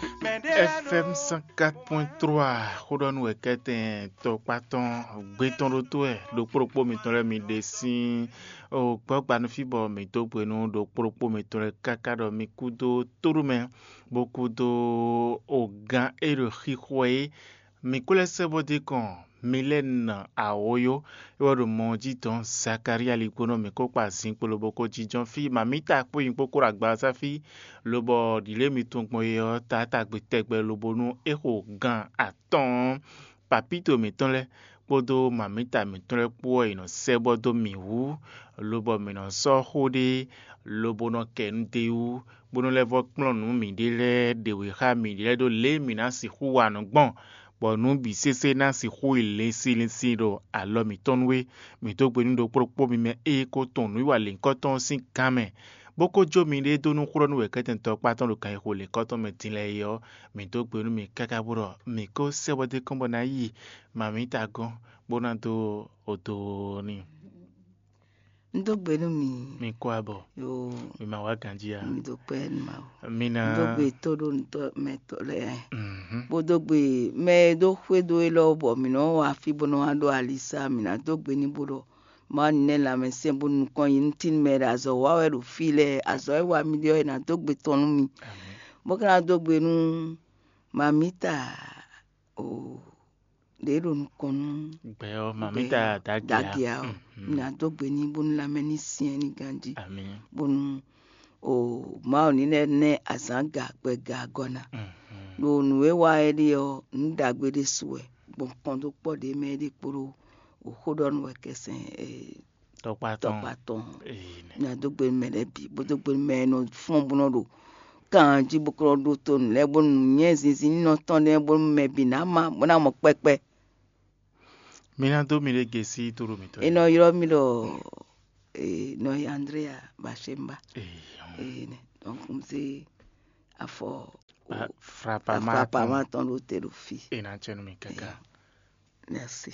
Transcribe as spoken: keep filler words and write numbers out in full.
F M cent quatre point trois, xó ɖɔ nú wɛ kɛtɛn tɔkpá tɔn gbé tɔn ɖó tó wɛ ɖokpó ɖokpó mitɔn lɛ́ɛ mi ɖe sín o gbɔ́gba nú fí bɔ mǐ dó gbe nú ɖokpó ɖokpó mitɔn lɛ́ɛ káká ɖɔ mi kúdó tóɖúmɛ bó kúdó o gán e ɖo xixo é. Mǐ kó lɛ́ sɛ́ bó dé kɔn Milɛ́nu Awóyó, é wɛ ɖo mɔ ɔ́ jí dɔn Zakalía ligbónɔ mǐ kó kpa zinkpo lobo kó jínjɔ́n fí mǎmíta kpó nyi kpókpó ɖo agbaza fí, lobɔ ɖǐlé mitɔn gbɔn é ɔ́, taátagbe tɛgbɛ lobo nú é xo gan atɔ́ɔ́n. Papíto mǐtɔn lɛ́ɛ kpódó mǎmíta mǐtɔn lɛ́ɛ kpó wɛ è nɔ sɛ́ bɔ dó mǐ wú, lobɔ mǐ nɔ sɔ́ xó ɖé, lobo nɔ kɛ nu d'é wú, bó nɔ́ lɛ́ vɔ́ kplɔ́n nǔ mǐɖée lɛ́ɛ ɖe wě xá mǐɖée lɛ́ɛ ɖó lě e mǐ ná sixú wa nǔ gbɔn, bɔ nǔ bǐ sésé ná sixú yi linsin linsin ɖo alɔ mǐtɔn nu é. Mǐ dó gbe nú ɖokpó ɖokpó mi mɛ ée ko tunwun nǔwiwa lěhunkɔtɔn ɔ́ sín gán mɛ, bó ko jó miɖée dó nú xlɔ́ nú wɛ̌kɛ́tɛn tɔkpá tɔn ɖo kan e xo lěhunkɔtɔn mɛ din lɛ́ɛ é ɔ́, mǐ dó gbe nú mi káká bó ɖɔ mǐ kó sɛ́ bɔ dó kɔn bɔ ná yi mǎmíta gɔ́n, bó ná dó odo n'i. Un dó gbe nú mi. Mi kó abɔ. Yo. Mi ma wá ganjí a? Mi dó kpɛ nú ma o. Mi ná. Un dó gbe tó ɖó nutɔ mɛ tɔ lɛ. Mhm. Bó dó gbe mɛ e dó xwé dó élɔ́ bɔ mǐ nɔ wá fí bó nɔ wá ɖó alisá, mǐ ná dó gbe ní bó ɖɔ Mawu ní nɛ́ lanmɛsɛn bó nukɔn yi nú tín mɛ ɖo azɔ̌ wa wɛ ɖo fí lɛ́ɛ, azɔ̌ e wa mi ɖe ɔ́, è nǎ dó gbe tɔn nú mi. Amín. Bó ka ná dó gbe nú mamita o ɖě ɖo nukɔn nú gbɛ ɔ́, mamita dagea. Dagea ɔ́, mhm, ná dó gbe ní bónú lanmɛ ní syɛ́n ní ganjí. Amín. Bónú o Mawu ní lɛ́ nɛ́ azǎn ga gbɛ ga gɔ́ ná. Mhm. Ɖo nǔ e wa é ɖe ɔ́, nǔ ɖagbe ɖésú wɛ, gbɔn kɔn dó kpɔ́ ɖě mɛ é ɖe kpódó o xó ɖɔ nú wɛ kɛsɛn e tɔkpa tɔn. Tɔkpa tɔn. Ee, nɛ. Nya dó gbe mɛ lɛ́ɛ bǐ, bó dó gbe mɛ e nɔ fɔ́n bó nɔ ɖo kan jí bó kɔ ɖó tó nǔ lɛ́ɛ bónú nyɛ zinzin ní nɔ tɔn lɛ́ɛ bónú mɛ bǐ ná má bó ná mɔ kpɛkpɛ. Mi ná dó mi ɖe gěsí tóɖo mǐtɔn. È nɔ ylɔ́ mì ɖɔ ee nɔ yi Andrea Bashemba. Ee, ee nɛ donc n se afɔ frapama frapama tɔn ɖo te ɖo fi. È nà tsɛ nú mi káká. Ee, merci.